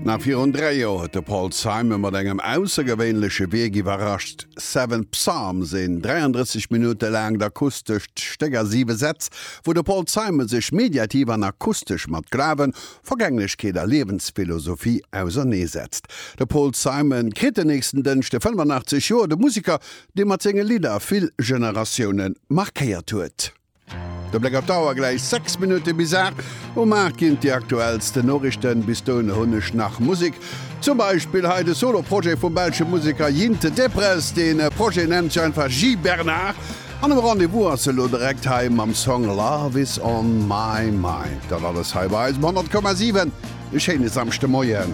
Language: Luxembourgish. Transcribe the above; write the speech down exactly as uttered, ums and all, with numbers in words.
Nach virun dräi Joer huet de Paul Simon mat engem aussergewéinleche Wierk iwwerrascht, Seven Psalms, een dräiandrësseg Minutte laangt akustescht Stéck a siwe Sätz, wou de Paul Simon sech mediativ an akustesch mat Glawen, Vergänglechkeet a Liewensphilosophie auserneesetzt. De Paul Simon kritt den nächsten Dënschde fënnefanaachtzeg Joer, de Museker, dee mat senge Lidder vill Generatioune markéiert huet. De Bléck op d'Auer, gläich sechs Minutte bis aacht. Um aacht ginn et déi aktuellsten Noriichten. Bis dohinner hunn ech nach Musek. Zum Beispill hei de Solo-Projet vum belsche Museker Jinte Deprez. De Projet nennt sech einfach J. Bernard. An um Rendez-vous ass elo direkt hei mam Song Love is on my mind. Dat alles hei bei eis um honnert Komma siwen. E schéine Samschdemoien.